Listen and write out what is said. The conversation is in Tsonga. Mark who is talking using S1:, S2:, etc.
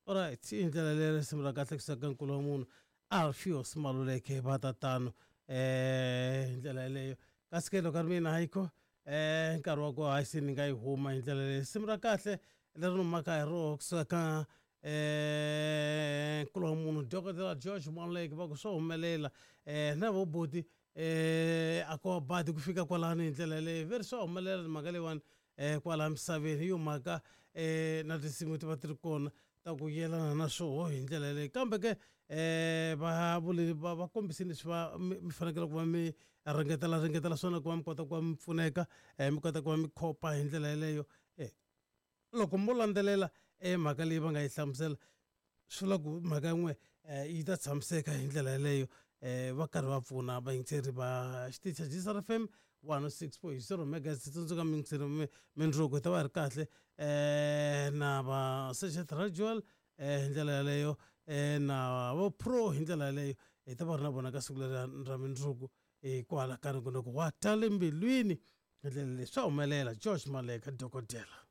S1: Alright, hi ndlela leyi risimu ra kahle kusuka ka nkulu wa munhu Alfios Maluleke va ta tano hi ndlela yeleyo. Kasi ke loko a ri mina hayikho nkarhi wa koho hayi se ni nga yi huma hi ndlela leyi. Risimu ra kahle leri ni humaka hi roho kusuka ka nkulu wa munhu Dokodela George Maluleke va ku swo humelela na vo buti a ko va badi ku fika kwalano hi ndlela yeleyo ve ri swa humelela mhaka leyiwani kwala misaveni hi yo mhaka na tinsimu ti va ti ri kona ta ku yelana na swoho hi ndlela yeleyo kambe ke va vule va va kombise leswi va mi fanekele ku va mi ringetela ringetela swona ku va mi kota ku va mi pfuneka mi kota ku va mi khopa hi ndlela yeleyo loko mo landzelela mhaka leyi va nga yi hlamusela swi vula ku mhaka yin'we yi ta tshamiseka hi ndlela yeleyo va karhi va pfuna vayingiseri va xitichi xa Gsr FM 106.0 megahertz tsundzuka miyingiseri mindzuku hi ta va hi ri kahle na va Sergeant Rajual hi ndlela yeleyo na vo pro hi ndlela yeleyo hi ta va ri na vona ka siku leri ra mindzuku kwala ka nongonoko wa ta le mbilwini hi ndlela leyi swa humelela George Maleka dokodela.